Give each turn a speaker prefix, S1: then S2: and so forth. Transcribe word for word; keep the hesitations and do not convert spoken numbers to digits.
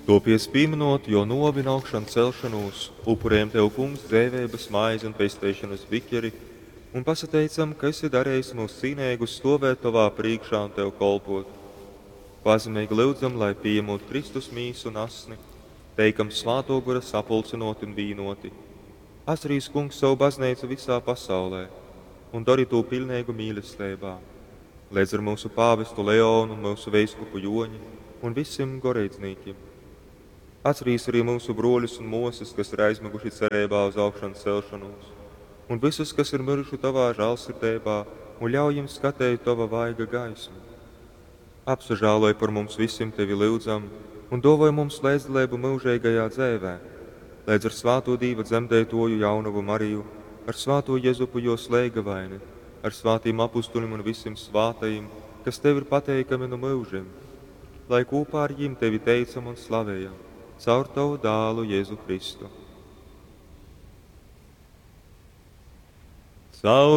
S1: Tuopiec, pīmynot Juo nuovi un augšancelšonūs, upurejam Tev, Kungs, dzeiveibys maizi un pesteišonys bikeri un pasateicam, ka esi darejis myus cīneigus stuovēt Tovā prīškā un Tev kolpuot. Pazemeigi lyudzam, lai, pījamūt Kristus mīsu un asni, teikam Svātuo Gora sapulcynuoti un vīnuoti. Atcerīs, Kungs, sovu Bazneicu vysā pasaulē un dori tū piļneigu mīlesteibā, leidz ar myusu pāvestu Leonu un myusu veiskupu Juoņi un vysim goreidznīkim. Atcerīs arī myusu bruoļus un muosys, kas ir aizmyguši cereibā uz augšancelšonūs, un vysus, kas ir myruši Tovā žālsirdeibā, un ļauj jim skateit Tova vaiga gaismu. Apsažāloj par mums vysim, Tevi lyudzam, un duovoj mums leidzdaleibu myužeigajā dzeivē, leidz ar svātū Dīva dzemdeituoju jaunovu Mariju, ar svātū Jezupu juos leigavaini, ar svātim apustulim un vysim svātajim, kas Tev ir pateikami nu myužim, lai kūpā ar jim Tevi teicam un slavejam, caur Tovu dālu Jēzu Kristu. Caur